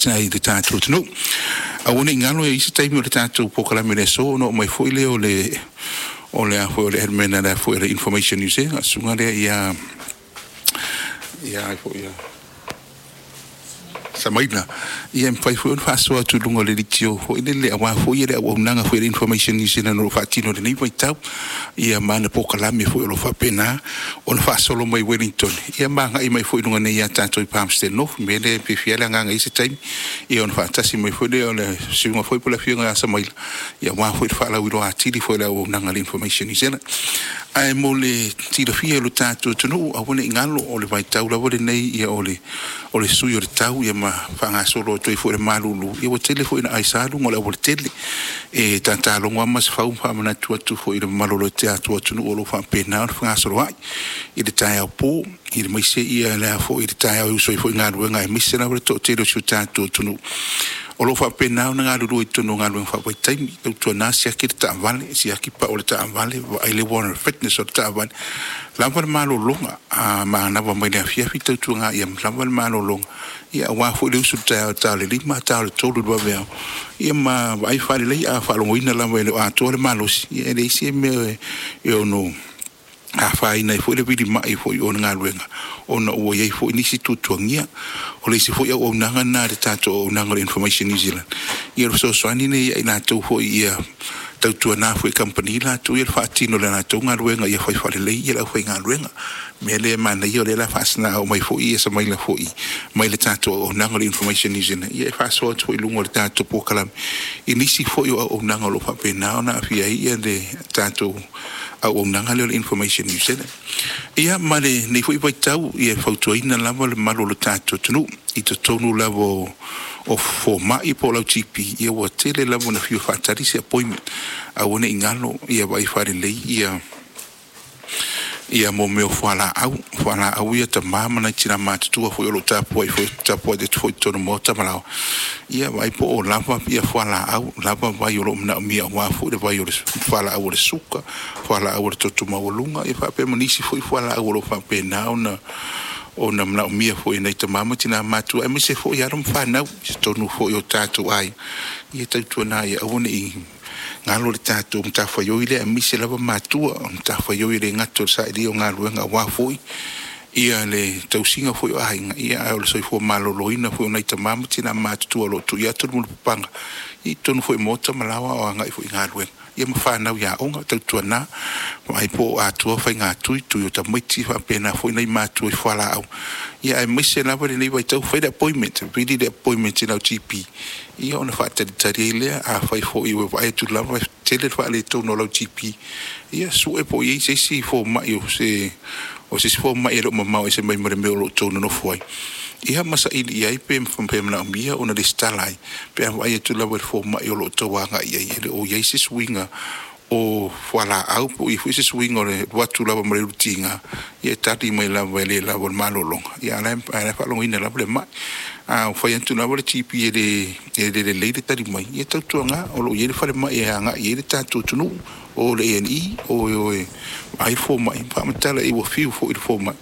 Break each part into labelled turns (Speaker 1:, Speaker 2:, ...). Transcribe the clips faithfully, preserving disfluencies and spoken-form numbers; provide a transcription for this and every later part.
Speaker 1: I le tatou atunuu. Aua nei galo e i ai se taimi o le tatou polokalame i le aso ona oo mai foi lea o le o le a foi o le admin a le a foi o le Information New Zealand, susuga lea ia ia ai foi ia Samaila, ia e mafai foi ona faasoa atu i luga o le leitio foi lele aua foi le auaunaga foi a le Information New Zealand o lo o faatino i lenei vaitau, ia ma ana polokalame foi o lo o faapena ona faasolo mai Wellington, ia ma agai mai foi i luga nei ia tatou i Palmerston North. O le mea lea e fiafia ai le agaga i se taimi, ia ona faatasi mai foi lea o le susuga foi po o le afioga ia Samaila, ia aua foi le faalauiloa atili foi o le auaunaga a le Information New Zealand. Ae mo le silafia e lo tatou atunuu, aua ne i galo o le vaitau lava lenei ia o le o le sui o le tau ia ma faagasolo atu ai foi le malulu, ia ua tele foi ina aisa luga o le aualatele. E tatalogo lava Masefau ma faamanatu atu foi i le mamalu o le tatou atunuu o lo o faapena ona fegasoloai i le taeao po i le maise ia le a foi i le taeao e usu ai foi i galuega, aemaise lava le toatele o si o tatou atunuu o lo o faapena ona galulue i totonu o galuega faavaitaimi. Tautuana siaki le taavale, siaki pau o le taavale, vaai le warrant of fitness o le taavale, lava le malologa a manava mai le afiafi, tautuana ia lava le malologa, ia aua foi le usu i le taeao i le ta o le lima, ta o le tolu i le vaveao, ia ma vaai faalelei. A faalogoina lava e le o atoa le malosi, ia e leai se mea e ono afaina ai foi le vilima'i foi o le galuega ona ua i ai foi nisi tuatuagia. O le isi foi auaunaga lena a le tatou auaunaga o le Information New Zealand, ia o le fesoasoani lea ia i latou foi ia tautuana foi e kamupani latou ia le faatino o le latou galuega ia fai faalelei ia le aufaigaluega. O le mea lea e manaia o lea o le a faasina mai foi ia Samaila foi mai le tatou auaunaga o le Information New Zealand, ia e faasoa atu foi i luga o le tatou polokalame i nisi foi o auaunaga o lo o faapena ona aafia ai ia le tatou auaunaga lea o le Information New Zealand. Ia ma lenei foi vaitau, ia e fautuaina lava le mamalu o le tatou atunuu i totonu lava o o fomai po o lau G P, ia ua tele lava ina fiu e faatali se appointment. Aua ne i galo ia vaai faalelei ia ia mo mea o fualaau, fualaau ia tama ma nai tina matutua foi o lo o tapuai foi tapuai atu foi i totonu o maota ma laoa, ia vaai po o lava ia fualaau, lava vai o lo o manaomia aua foi le vai o le fualaau o le suka, fualaau o le toto maualuga, ia faapea ma nisi foi fualaau o lo o faapena ona ona manaomia foi e nai tama ma tina matutua aemaise foi alo ma fanau i totonu foi o tatou aiga. Ia tautuana ia aua ne i galo le tatou matafaioi lea, aemaise lava matua o matafaioi e le gata o le sailia o galuega aua foi ia le tausiga foi o aiga, ia ae o le soifua maloloina foi o nai tama ma tina matutua o lo o tuu atu le mulipapaga i totonu foi o maota ma laoa o agai foi i galuega, ia ma fanau i aoga. Tautuana vaai po o atoa faigatui tui o tamaiti faapena foi nai matua i fualaau, ia aemaise lava lenei vaitau, fai le appointment, vili le appointment i lau G P, ia ona faatalitali ai lea. Afai foi ua vaai atu lava e tele le faaletonu o lau G P, ia sue po o i ai se isi fomai o se o se isi fomai e le o mamao ese mai ma le mea o lo o tou nonofo ai, ia ma saili i ai pe pe manaomia ona lesitala ai pe a vaai atu lava i le fomai o lo o tau agai i ai e le o i ai se suiga o fualaau po o i ai foi se suiga o le alu atu lava ma le ulutiga, ia e tali mai lava e le lava le malologa, ia a o la e faalogoina lava le mai. A fai atu lava le G P e le e le lelei le tali mai, ia tautuana o lo o i ai le falemai e agai i ai le tatou atunuu, o le A and E, o e o e vaai fomai, faamatala i ai ua fiu foi le fomai,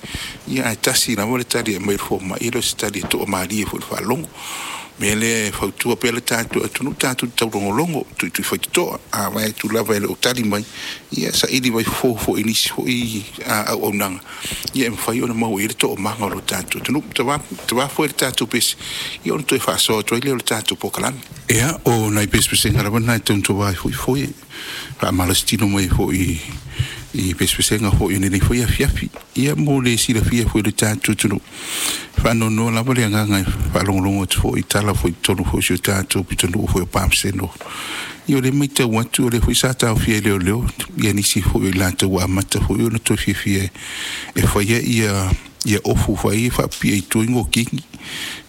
Speaker 1: ia ae tasi lava le tali e aumai e le fomai, e le o se tali e toamalie foi i le faalogo. O le mea lea e fautua pea le tatou atunuu, tatou te taulogologo, tuitui faitotoa, a vaai atu lava e le o tali mai, ia saili mai fofo foi i nisi foi auaunaga, ia e mafai ona maua i ai le toomaga o lo tatou atunuu. Tava foi le tatou pese, ia ona toe faasoa atu ai lea o le tatou polokalame. Ia, o nai pesepesega lava na e tautua ai foi foi, faamalositino mai foi i pesepesega foi o lenei foi afiafi. Ia mo le silafia foi i le tatou atunuu, faanoanoa lava le agaga e faalogologo atu foi i tala foi i totonu foi o si o tatou pitonuu foi o Palmerston North. Ia o lea e matau atu o lea foi sa taofia e leoleo ia nisi foi o i latou ua amata foi ona toe fiafia e faia ia ia ofu fai e faapipii ai i tua i ngokini.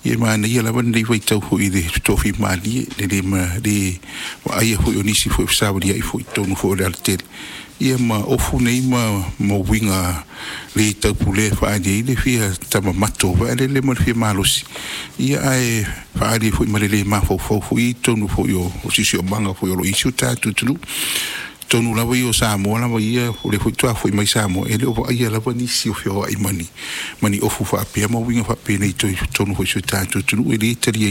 Speaker 1: Ia e manaia lava lenei vaitau foi i le tofimalie, le le ma le vaaia foi o nisi foi o fesavaliai foi i totonu foi o le alatele, ia ma ofu nei ma ma uiga le taupulea e faaali ai le fia tamamato vaelele ma le fia malosi, ia ae faaali ai foi ma le le mafaufau foi i totonu foi o siosiomaga foi o lo o i ai si o tatou atunuu. Totonu lava ia o Samoa lava ia, o lea foi faatoa foi mai Samoa, e le o vaaia lava nisi o feoai ma ni ma ni ofu faapea ma uiga faapenei i totonu foi o si o tatou atunuu, e le talia.